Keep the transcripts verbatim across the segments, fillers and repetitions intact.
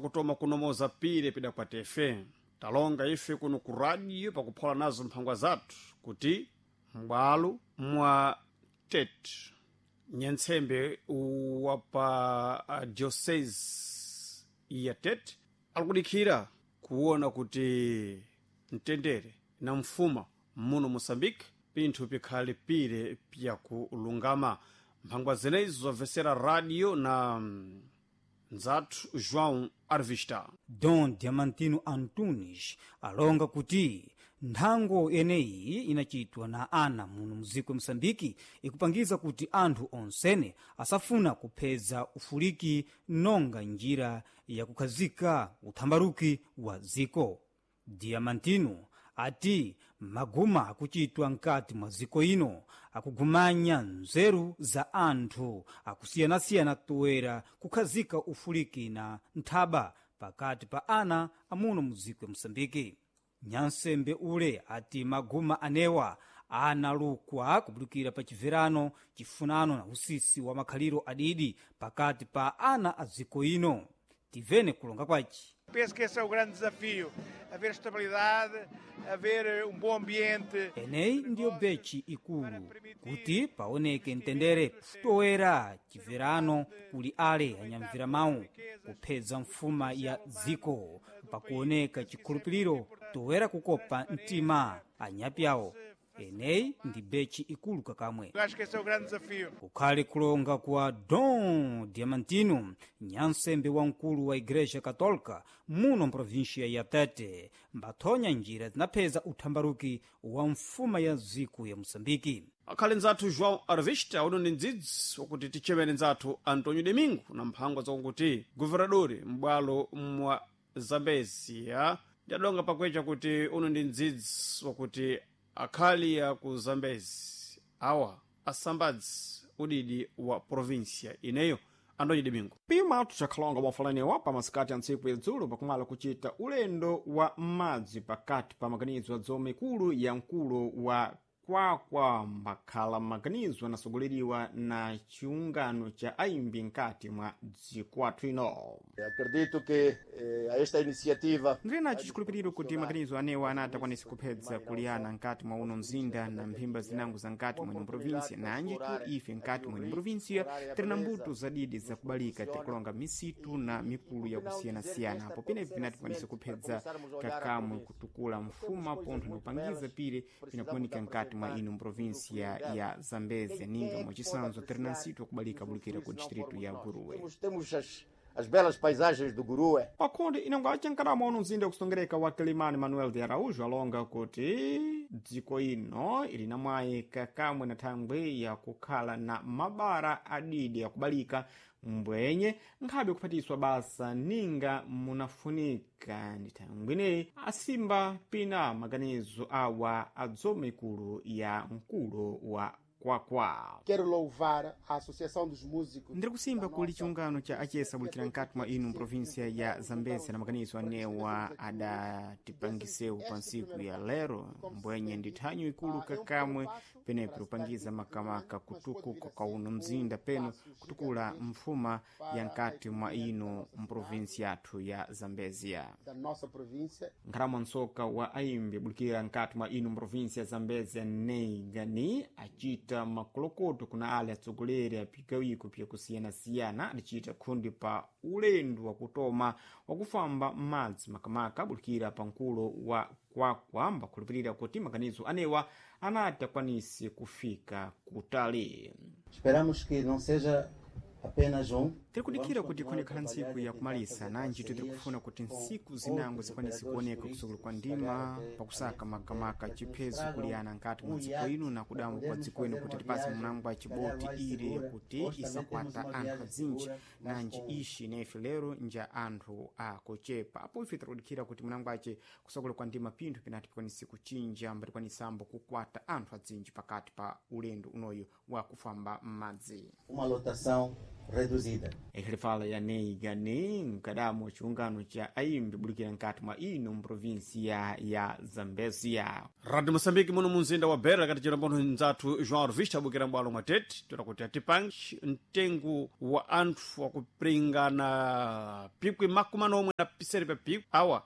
Kutoma kunomoza pire pidakwata ife talonga ife kuno ku radio pakuphola nazo mphangwa zathu kuti m'bwalo mwa Tete, nyantsembe wa pa uh, diocese ya Tete alikudikhira kuona kuti mtendere na mfuma muno Moçambique pinthu pikhale pire pyakulungama. Mphangwa zenezo zobvesera radio na mm, nzathu João Arvista. Dom Diamantino Antunes alonga kuti nthango yeneyi inachitwa na ana muno muziko Mosambiki ikupangiza kuti anthu onsene asafuna kupheza ufuliki nonga njira yakukhazika uthambaruki wa ziko. Diamantino ati maguma akuchitwa mkati mwa ziko ino akugumanya nzeru za anthu akusiyanasiyana toera kukhazika ufuliki na nthaba pakati pa ana amuno muziko ya Mosambiki. Nyansembe ule ati maguma anewa analukwa kubudukira pa chibverano, chifunano na usisi wa makhaliro adidi pakati pa ana a ziko ino. Tivene kulonga kwaci. Penso que esse é o grande desafio: haver estabilidade, haver eh, um bom ambiente. Eneyi ndiyo bechi ikulu kuti paoneke mtendere, toera chibverano kuli ale anyamvira mawu kuphedza mfuma ya dziko pakuoneka chikhulupiriro toera kukopa mtima anyapyawo. Eneyi ndi bechi ikulu kakamwe. Eu acho que esse é o grande desafio. Kukhale kulonga kwa Dom Diamantino, nyansembe wamkulu wa Igreja Católica muno mprovinsia ya Tete, mbathonya njira zinapheza uthambaruki wa mfuma ya ziko ya Moçambike. Akhale nzathu João Arvista. Uno ndi mdzidzi wakuti tichemere nzathu Antonio Domingo na mphangwa zakuti guvernadori m'bwalo mwa Zambezia ndadonga pakwecha kuti uno ndi mdzidzi wakuti akhali ya ku Zambezi awa asambadzi udidi wa provinsia ineyo. Antonio Domingo. Pima tucakhalonga bwafalaniwa pa masikati a ntsiku ya dzulo pakumala kuchita ulendo wa m'madzi pakati pa maganizo a dzoma ikulu ya mkulo wa Kwakwa, mbakhala maganizo anasogoleriwa na chiungano cha aimbi nkati mwa dziko athu ino. Acredito que eh, a esta iniciativa Ndili nacho chikhulupiriro kuti maganizo anewa anati akwanise kuphedza kuliyana nkati mwa uno mzinda na mphimba zinango za nkati mwene provinsia, nanjitu ife nkati mwene provinsia tiri na mbuto zadidi zakubalika, tirikulonga misitu na mikulu yakusiyanasiyana apo penepi pinati tikwanise kuphedza kakamwe kutukula mfuma pontho na kupangiza pire pinakumanika nkati mwa ino provinsia ya Zambezia, ninga mwachisanzo tiri na nsitu wakubalika bulikira ku distritu ya Guruwe. temos, temos as, as belas paisagens do Gurue. Pakhonde inango acankarama uno mzinda wakusongereka wa Kilimani, Manuel de Araújo alonga kuti dziko ino ili na mwayi kakamwe na thangwi yakukhala na mabara adidi akubalika mbwenye nkhabe kuphatiswa basa ninga munafunika ndi thangwi ineyi asimba pina maganizo awa adzoma ikulu ya mkulo wa Kwakwa. Quero louvar a Associação dos Músicos. Ndiri kusimba kuli chiungano cha achesa bulikira nkati mwa inu mprovinsia ya Zambezia na maganizo anewa adatipangisewu pa ntsiku ya lero, mbwenye ndi thanyu ikulu kakamwe penepo kupangiza makamaka kutukuka kwa uno mzinda peno kutukula mfuma ya nkati mwa inu mprovinsia yathu ya Zambezia. Da nossa província. Nkhalamo mtsoka wa aimbi bulikira nkati mwa inu mprovinsia ya Zambezia Neigani acita makolokoto kuna ale atsogoleri a pigawiko pyakusiyanasiyana adacita khundi pa ulendo wakutoma wakufamba m'madzi makamaka bulikira pa mkulo wa Kwakwa, mbakhulupirira kuti maganizo anewa anati akwanise kufika kutali. Esperamos que não seja apenas um. Tiri kudikira kuti ikhonekhala ntsiku yakumalisa nanji tiri kufuna kuti ntsiku zinango zikwanise kuoneka kusukulu kwa ndima pakusaka makamaka chiphezo kuliyana nkati mwa dziko ino na kudambo kwa dziko ino kuti tipase munango wa chiboti ire kuti isakwata anthu azinji, nanji ishi nefe lero nja anthu akuchepa. Apo ife tirikudikira kuti munango ace kusakula kwa ndima pinthu pinati pikwanise kuchinja mbatikwanisa kukwata anthu azinji pakati pa ulendo unoyu wa kufamba m'madzi. Uma lotação reduzida. Ikhali ya neigane mkadamo chiungano cha aimbi bulikira nkati mwa ino mprovinsia ya Zambezia. Radio Moçambique muno munzinda wa Beira kati chilombono nzathu João Rvista abukira mbwalo mwa tete toda kuti atipange mtengo wa anthu wakupringana pikwi makumi manomwe na pisere pa pikwi awa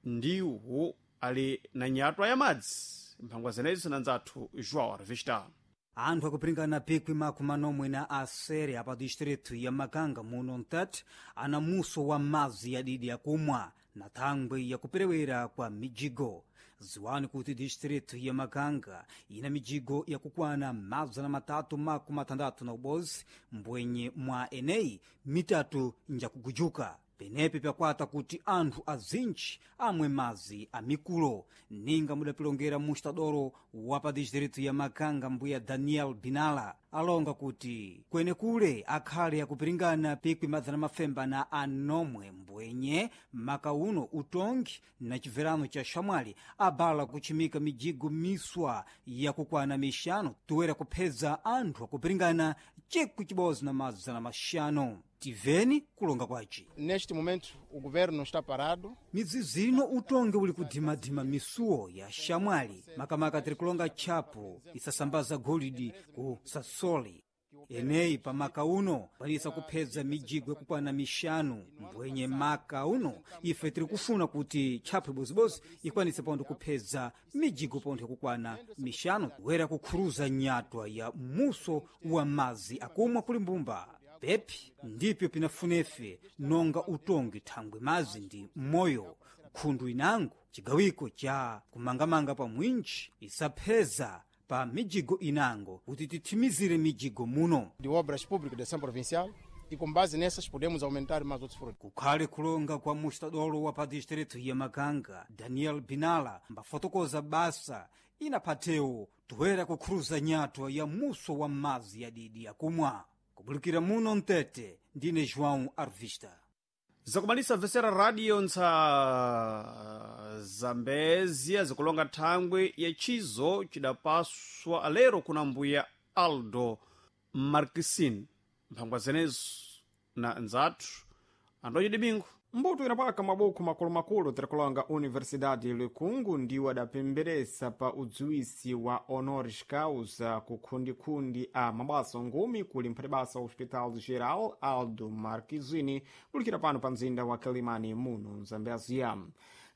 ndiwo ali na nyatwa ya madzi mphangwa zenezo na nzathu João Rvista. Anthu akupiringana pikwi makumi manomwe na asere apa distritu ya Makanga muno mtati ana muso wa madzi yadidi yakumwa na thangwi yakuperewera kwa mijigo. Ziwani kuti distritu ya Makanga ina mijigo yakukwana mazana matatu makumi matandatu na ubozi mbwenye mwa eneyi mitatu njakugujuka. Penepe pyakwata kuti anthu azinji amwe madzi amikulo. Ninga mudapilongera mustadoro wa pa distritu ya Makanga mbuya Daniel Binala alonga kuti kwenekule akhale akupiringana pikwi madzana mafemba na anomwe mbwenye maka uno utongi na chibverano cha xamwali abala kuchimika mijigo miswa yakukwana mixano toera kuphedza anthu akupiringana chikwi chibodzi na madzana maxanu. Tiveni kulonga kwaci. Neste momento, o governo está parado. Midzi zino utongi uli kudimadima misuwo ya xamwali makamaka tiri kulonga tchapo isasambaza golidi ku sasoli. Eneyi pa maka uno kwanisa kuphedza mijigo yakukwana mixanu mbwenye maka uno ife tiri kufuna kuti tchapo ibozibozi ikwanise pontho kuphedza mijigo pontho yakukwana mixanu wera kukhuruza nyatwa ya muso wa madzi akumwa kuli mbumba. Pepi ndipyo pinafunefe nonga utongi thangwi madzi ndi moyo khundu inango chigawiko cha kumangamanga pa mwinji isapheza pa mijigo inango kuti tithimizire mijigo muno. De obras públicas de ação provincial e com base nessas podemos aumentar mais outros frutos. Kukhale kulonga kwa mustadolo wa pa distritu ya Makanga Daniel Binala mbafotokoza basa inaphatewo toera kukhuruza nyatwa ya muso wa madzi yadidi yakumwa. Kubulikira muno mtete ndine João Arvista. Zakumalisa mvesera radio ntsa Zambezia zikulonga thangwi yachizo chidapaswa alero kuna mbuya Aldo Markisin mphangwa zenezo na nzathu Antonio Domingo. Mbuto inapaka mabuku makulumakulu tirikulonga Universidade Likungu ndiwo adapemberesa pa udziwisi wa honoris causa ku khundikhundi a mabasa ngumi kuli mphatibasa wa Hospital Geral Aldo Marquezine kulikira pano pa mzinda wa Quelimane muno Mzambezia.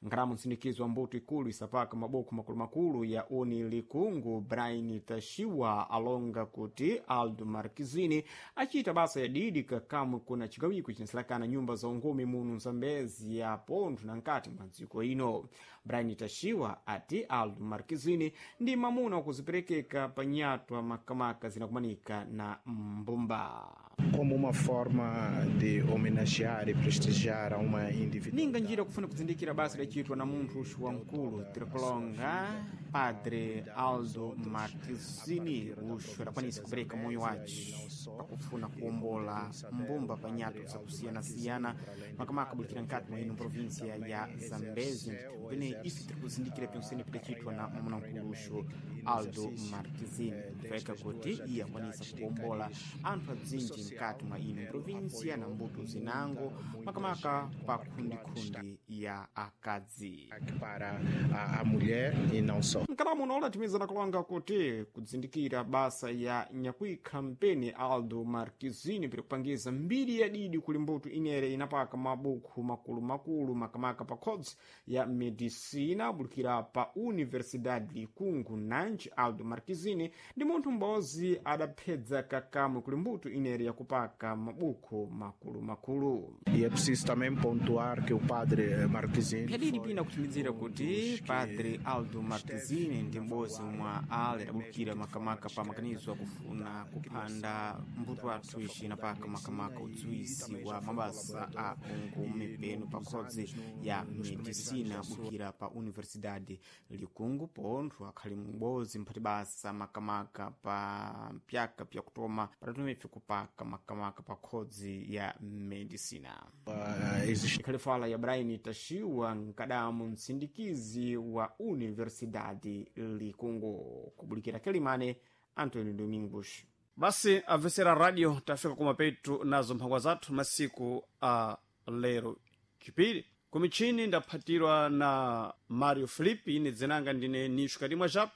Nkhalamu msindikizo wa mbuto ikulu isapaka mabuku makulumakulu ya uni likungu Brian Tashiwa alonga kuti Aldo Marquezine achita basa ya didi kakamwe kuna chigawiko cinasilakana nyumba za ungumi muno Mzambezia pontho na nkati mwa dziko ino. Brian Tashiwa ati Aldo Marquezine ndi mamuna wakuziperekeka pa nyatwa makamaka zinakumanika na mbumba. Como uma forma de homenagear e prestigiar a uma individualidade. Ninga njira kufuna kuzindikira basa lachitwa na munthu uxu wamkulu tirikulonga Padre Aldo Marquezine uxu adakwanisa kupereka moyo wace pakufuna kuwombola mbumba pa nyatwa zakusiyanasiyana makamaka abulikira nkati mwa ino provinsia ya Zambezi ndithu pene ife tirikuzindikira pensene pidacitwa na mwamuna mkulu uxu Aldo Marquezine kupeka kuti iye akwanisa kuwombola anthu adzinji mkati mwa ino provinsia na mbuto zinango makamaka pa khundikhundi ya akadzi para a, a mulher e não só. Mkalamu unaola timizana kulonga kuti kudzindikira basa ya nyakwikha mpeni Aldo Marquezine piri kupangiza mbiri ya didi kuli mbuto inere inapaka mabuku makulumakulu makamaka pa khodzi ya medicina bulikira pa Universidade Likungu nanji Aldo Marquezine ndi munthu m'bodzi adaphedza kakamwe kuli mbuto inere yakupaka mabuku makulumakulu. E é preciso também pontuar que o padre Marquezine Pyadidi pina kutimizira kuti Padre Aldo Marquezine ndi m'bodzi mwa ale adabulukira makamaka pa makanizo akufuna kuphanda mbuto athu ici inapaka makamaka udziwisi wa mabasa a ungumi penu pa khodzi ya medicina abulukira pa Universidade Likungu pontho akhali m'bodzi mphati basa makamaka pa pyaka pyakutoma patatumife kupaka makamaka pa khodzi ya medicina. uh, existe Ikhali fala ya Brian Tashiwa mkadamu msindikizi wa Universidade Likungu kubulikira Quelimane Antônio Domingos. Basi avesera radio, tafika kumapetu nazo mphangwa zathu masiku a lero chipiri. Kumichini ndaphatirwa na Mario Filipi, ine dzinanga ndine Nisho Kadimwa Jape.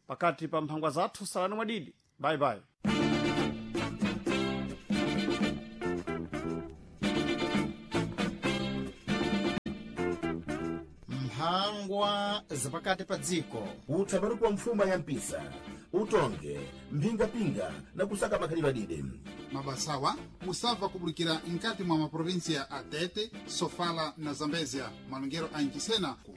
Pakati pa mphangwa zathu salani mwadidi. Bye bye. Mphangwa zapakati pa dziko. Utsaparuku wa mfuma ya mpisa utonge mphingapinga na kusaka makhalidwe adide. Mabasawa musabva kubulikira nkati mwa maprovinsia a Tete, Sofala na Zambezia, malongero a Nchisena ku